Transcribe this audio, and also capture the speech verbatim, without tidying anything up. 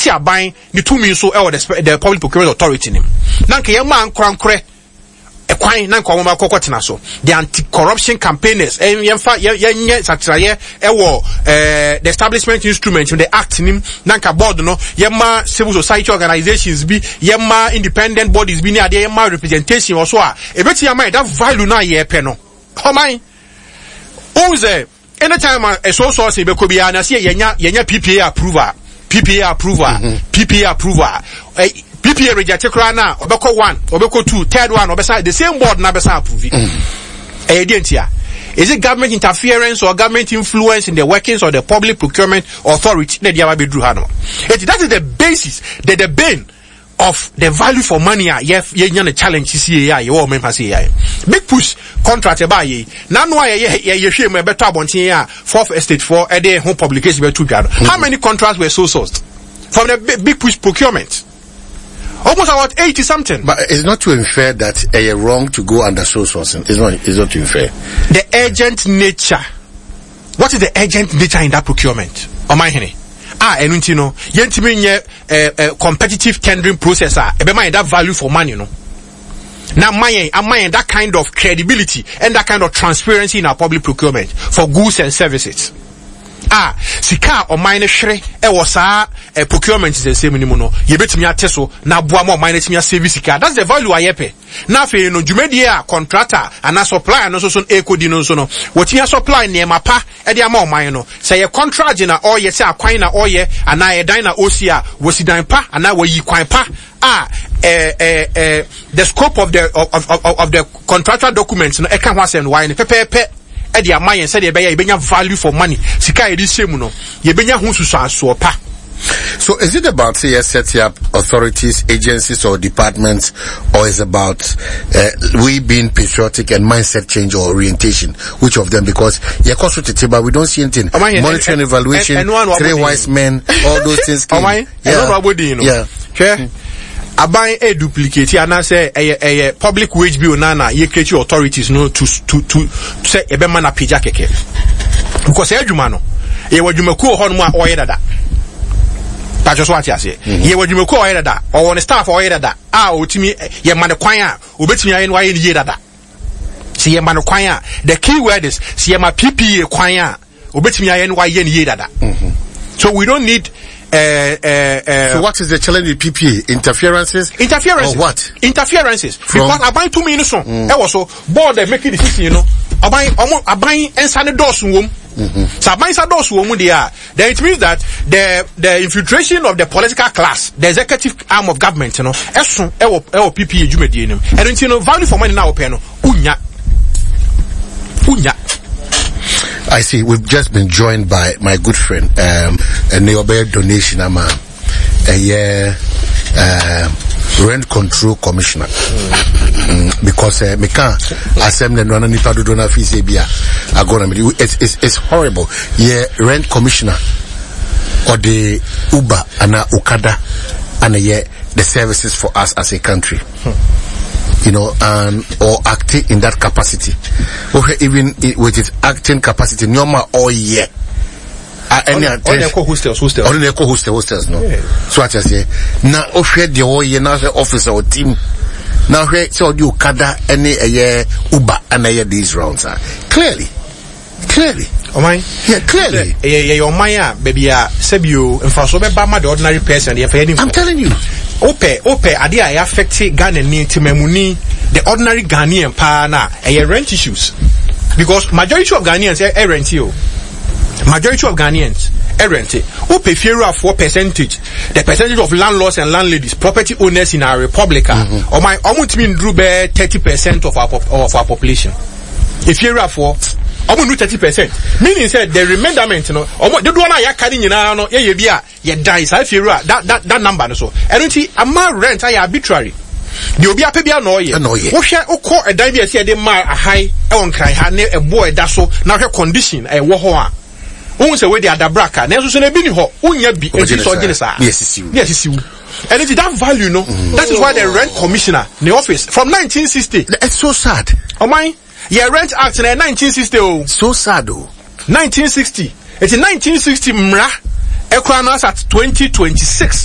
yɛnte aban ne tumi nso ɛwɔ the, the Public Procurement Authority nim, na nka yɛma nkorankorɛ ɛkwan na nka wɔn akɔkɔ tena so, the anti-corruption campaigners. Yɛnfa yɛnyɛ sakyerɛyɛ ɛwɔ ɛɛ the establishment instrument, the act nim, na nka board no, yɛma civil society organizations bi, yɛma independent bodies bi ne adeɛ, yɛma representation wɔ so a ebetumi ama yɛ that value na yɛpɛ no. Ɔman ohun sɛ anytime a ɛso sɔɔse bɛkɔ biara na sɛ yɛnya yɛnya P P A approval, P P A approval, P P A approval, ɛ P P A reject koraa na ɔbɛkɔ one, ɔbɛkɔ two, third one ɔbɛsa the same board na bɛsa approve. Ɛyɛ deɛ ntia? Is it government interference or government influence in the workings of the Public Procurement Authority na ɛde aba bɛduru ha no? Eti that is the basis, the the bane of the value for money a yɛ yɛnya no challenge sisi yɛ a yɛwɔ ɔmo mfa se yɛ Big Push contract ɛbaa yɛ n'ano a yɛyɛ yɛhwɛ mu ɛbɛtɔ abɔnten a Fourth Estate foɔ ɛde ho publication bɛto dwa no, how many contracts were so sourced from the Big, Big Push procurement? Almost about eighty something. But it's not to infer that uh, wrong to go under sole sourcing. It's not. It's not to infer. The urgent nature. What is the urgent nature in that procurement? Ɔman hene a ɛno nti no yɛntumi nyɛ eh, eh, competitive tendering process a ɛbɛma yɛn that value for money no na ama yɛn ama yɛn that kind of credibility and that kind of transparency in our public procurement for goods and services a sika a ɔman no hwere ɛwɔ saa eh, procurement nsɛnsɛm no mu no, yɛbɛtumi ate so na aboa ma ɔman no atumi asave sika. That's the value a yɛpɛ. Na afei no, dwumadie a contractor anaa supplier no nso so ɛrekɔdi no nso no, wɔtumi asupply nneɛma pa ɛde ama ɔman no. Sɛ yɛ contract na ɔyɛ, sɛ akwan na ɔyɛ anaa ɛdan na ɔsi a, wɔsi dan pa anaa wɔyi kwan pa a ɛɛ ɛɛ ɛɛ the scope of the of of of, of the contractual documents no ɛka ho asɛm no, wɔayɛ no pɛpɛɛpɛ ɛde ama yɛn sɛdeɛ ɛbɛyɛ yɛbɛnya value for money. Sika a yɛde hyɛ mu no, yɛbɛnya ho susuansoɔ pa. So is it about, say, setting up authorities, agencies or departments, or is about uh, we being patriotic and mindset change or orientation? Which of them? Because but we don't see anything. Monitoring, evaluation, three wise men, all those things came. Yeah. Yeah. Yeah. Aban e duplicate anaasɛ ɛyɛ ɛyɛ public wage bill na na yɛ create authorities no to to to sɛ ɛbɛma na pagya kɛkɛ, because ɛyɛ adwuma no, yɛwɔ adwumakuo wɔ hɔnom a ɔyɛ dada patro so, ate aseɛ? Yɛwɔ adwumakuo a ɔyɛ dada, ɔwɔ ne staff a ɔyɛ dada a ɔtumi yɛma ne kwan a obetumi ayɛ no, ayɛ ne yie dada. Sɛ yɛma no kwan a, the key word is sɛ yɛma P P A kwan a, obetumi ayɛ no, wayɛ ne yie dada. So we don't need uh, uh, uh, So what is the challenge with P P A? Interferences? Interferences. Or what? Interferences. From? Because aban tumi no so ɛwɔ so, board that making decision no, aban ɔmo aban nsa ne dɔɔso wɔm. Sɛ aban nsa dɔɔso wɔm deɛ a, then it means that the the infiltration of the political class, the executive arm of government no, ɛso ɛwɔ ɛwɔ P P A dwumadie no mu. Ɛno nti no, value for money na wɔpɛ no, unya unya. I see. We've just been joined by my good friend, um, and they donation ama a year, uh, rent control commissioner. Mm, because uh, me can't asem ne no nipa dodo na fi se bia agona me, it's it's it's horrible. Yeah, rent commissioner or the Uber and Okada and yeah, the services for us as a country. You know, and or acting in that capacity. Okay, even with its acting capacity, normal all year. Ɛne ɔne ɛkɔ hostels hostels. Ɔne ɛkɔ hostel hostels no so ati aseɛ na ɔhwɛ deɛ ɔyɛ na ɔhwɛ office a ɔtim na ɔhwɛ sɛ ɔde Okada ɛne ɛyɛ Uber ɛna ɛyɛ these rounds a, clearly, clearly. Ɔman. Yeah, clearly. Ɛyɛ yɛyɛ ɔman a baabi a sɛbio mfaso bɛba ma the ordinary person yɛfɛ yɛ ni. I'm telling you. Wopɛ wopɛ adeɛ a ɛyɛ affect Ghana ni, temamuni, the ordinary Ghanaian paa na ɛyɛ rent issues, because majority of Ghanaians ɛ rent o. Majority of Ghanaians ɛ rent. Wopɛ fiewurafoɔ percentage, the percentage of landlords and landladies, property owners in our republic a, ɔman ɔmo ntumi nduru bɛɛ thirty percent of our of our population. Efiewurafoɔ ɔmo ndu thirty percent, meaning sɛ the remainderment no, ɔmo dodoɔ no a yɛaka ne nyinaa no, yɛyɛ bi a yɛdan saa fiewura that that that number no so. Ɛno nti ama rent ayɛ arbitrary, deɛ obi apɛ bi a na ɔyɛ. Ɛna ɔyɛ. Wohwɛ, wokɔ ɛdan bi a ɛsɛ yɛde maa ahan ɛwɔ Nkran ha ne ɛboɔ ɛda so na wohwɛ condition ɛwɔ hɔ a, wohu sɛ wei de adabraka, nanso so na ebi ni hɔ, wonya bi Ɔgye eti ne sɛ ɔgye ne saa. saa. Ne yɛsisi wo. Ne yɛsisi wo. Ɛno nti that value no, that is why the rent commissioner ne office from nineteen sixty. It's so sad. Ɔman yɛ Rent Act na yɛ nineteen sixty o. So sad o. nineteen sixty, eti nineteen sixty mmara ɛkura no as at twenty twenty-six.